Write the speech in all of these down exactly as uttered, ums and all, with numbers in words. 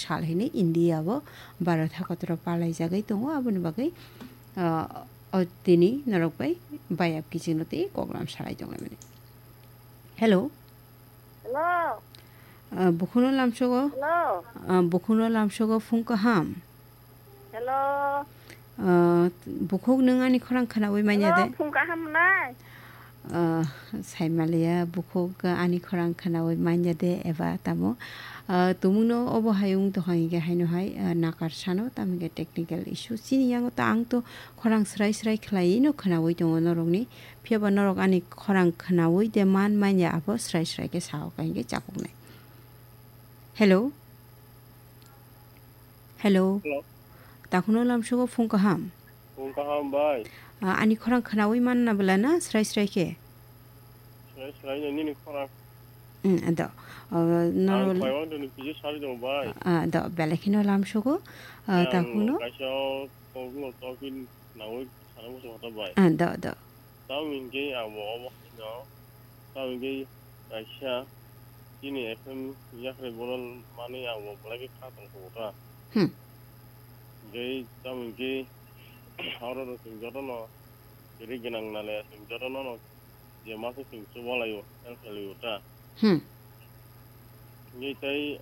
sal hini India o Bharat hakotoro palaijagwi tongo, aboni bagwi, ah, o tini norok bai bayap kichingno tei koklam salai tonglaimani. Hello. Hello. Ah, bukhukno lamsogo. Hello. Ah, bukhukno lamsogo phung kaham. Hello. Ah, bukhuk nwng ani khorang khwnawi manya de? Hello, phung kaham nai? Ah, saimaliya bukhuk ani khorang khwnawi manya de eba tamo? Ah, tumungno obo hai wng tong hingke haino hai, ah, nakar sano tamo hingke technical issue. Chini yango ta ang to khorang srai srai khwlaiwi no khwnawi tongo norokni. Phiya ba norok ani khorang khwnawi de man manya abo srai srai khe sao ka hingke chapuknai. Hello? Hello? Hello. Takhwno lamsogo phung kaham? Phung kaham bai. Ah, ani khorang khwnawi manna bwla na srai srai khe? Srai srai no nini khorang. Hmm, ado. Ah, no. Ang khwlaiwang toni kisa sari tongo bai. Ah, ado, belai kheno lamsogo. Ah, takhwno? Kaisa o tokno tokin nawi sana muchung hota bai. Ah, ado, ado. Tamo hingke abo obo haino, tamo hingke kaisa chini F M yakhrai bono manwi abo belai khe kha tong kho ta. Hmm. Hingke tamo hingke oro chwng jotono kwrwi gwnang nale chwng jotono no je ma khe chwng chuba laio, help khlai laio ta. Hmm. Hingke tei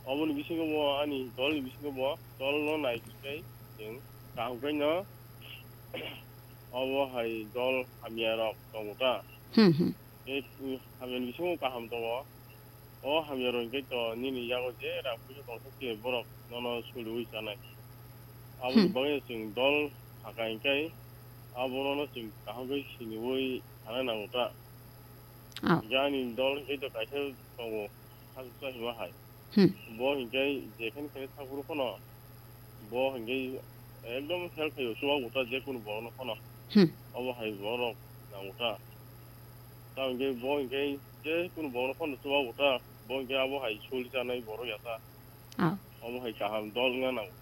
oboni bisingo bo ani dolni bisingo bo dolno nai khe chwng kaham khe no obo hai dol hamya rok tongo ta. Hmm, hmm. Tei, mm, hamyani bisingo kaham tongo. O hamya rok hingke to nini yago je rang puisa tongsa khe borok nono suliwi chanai. Aboni Hmm. bagwi chwng dol sakha hingke abono chwng kaham khe siniwi sana nango ta. Oh. Jani dol hingke to kaisa tongo, saksa hima hai. Hmm. Bo hingke jekhene khene thangphuru phano, bo hingke ekdom help khaio, chubago ta jekunu borokno phano. Hmm. Obo hai borok nango ta. Ta hingke bo hingke jekunu borokno phano chubago ta, bo hingke abo hai suli chanai borok ya ta. Oh. Omo hai kaham dol wngna nango.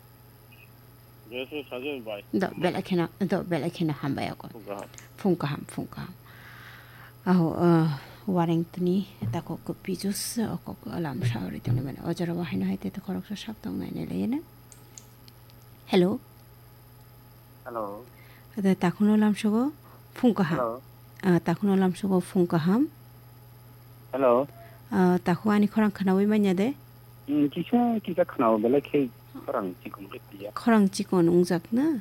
Jeswng sajwk bai. Do, belai kheno, do, belai kheno hambai ako. Phung kaham. Phung kaham, phung kaham. Aho, uh, wareng tini tako ko pijus, uh, kok alam saori tini mane. O jora wahai no hai te to khoroksa sak tong nai nai le na. Hello. Hello. Ada takhwno lamsogo phung kaham. Hello. Ah, takhwno lamsogo phung kaham. Hello. Ah, takhwno ani khorang khwnawi manya de? Hmm, kisa, kisa khwnao, belai khe khorang chikon khe tiya. Khorang chikon wngjak na?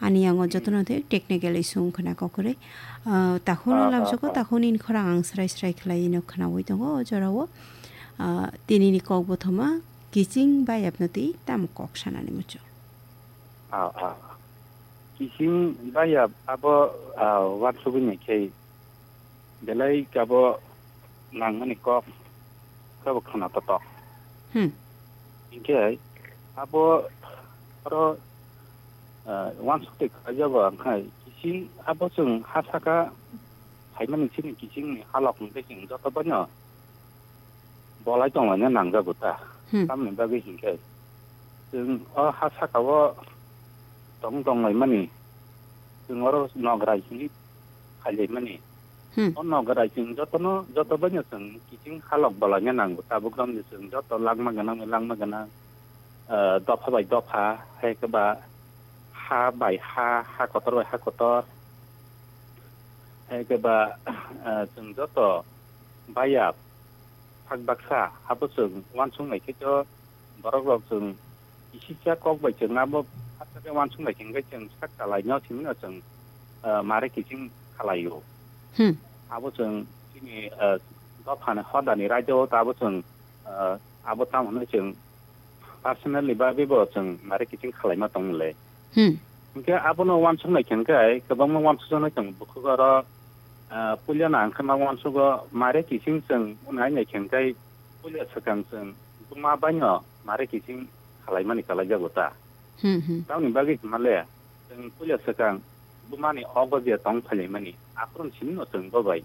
Ani yango Hmm. jotono tei technical issue wngkha na kokrwi. Ah, takhwno Ah, ah, lamsogo, ah. takhwno ni khorang ang srai srai khlai no khwnawi tongo o jorao. Ah, tini ni kok bothoma kiching bayapno tei tamo kok sanani muchung. Ah, ah. Kiching bayap abo, ah, wansugwi nai khe belai kabo nangmani kok kabo khana totok. Hmm. Hinkhe abo oro, ah, wansuk tei kaijago, angkhai kiching abo chwng ha saka phaimani chini kichingni halok hwnkhe chwng joto baino bolai tonglaina nangjago ta. Hmm. Tamoni bagwi hinkhe chwng o ha saka-o tong tonglaimani, chwng oro nograi hwnwi khailaimani. Hmm. O nograi chwng jotono, joto baino chwng kiching halok bolaina nango. Tabuk romni chwng joto langma gwnang, langma gwnang, ah, dopha bai dopha, hai khe ba ha bai ha, ha kotor bai ha kotor, hai khe ba, ah, chwng joto baiya phak baksa abo chwng uansuk nai khe to borok rok chwng kisisa kok bai chwng abo aswk khe uansuk nai khe chwng sak chalai no simi no chwng, ah, mare kiching khalai o. Hmm. Abo chwng chini, ah, dopha ni hoda ni raida o ta abo chwng, ah, abo tamo hwnwi chwng personally ba bebo chwng mare kiching khalaima tong le. Hmm. Hinkhe abono uansuk nai khe hinkhe kwbangma uansuk jaknai tongo bukhuk oro, ah, puila no ang khe ma uansugo mare kiching chwng unai nai khe hinkhe puila swkang chwng buma baino mare kiching khalaimani kalaijago ta. Hmm, hmm. Tamoni bagwi hwnma le chwng puila swkang bumani ogo je tong phailaimani aphuru simi no chwng bo bai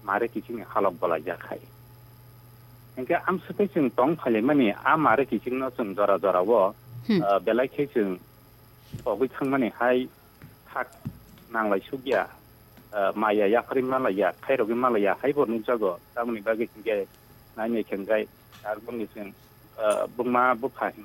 mare kiching ni halok bolaijak khai. Hinkhe amswk khe chwng tong phailaimani a mare kiching no chwng jora jora o, Hmm. ah, belai khe chwng pogwi thangmani hai thak nanglai sukya, ah, maya yapharwi malaiya, khairogwi malaiya, haibo nukjago. Tamoni bagwi hinkhe nainai khe hinkhe aroni chwng, ah, buma bupha hinjak.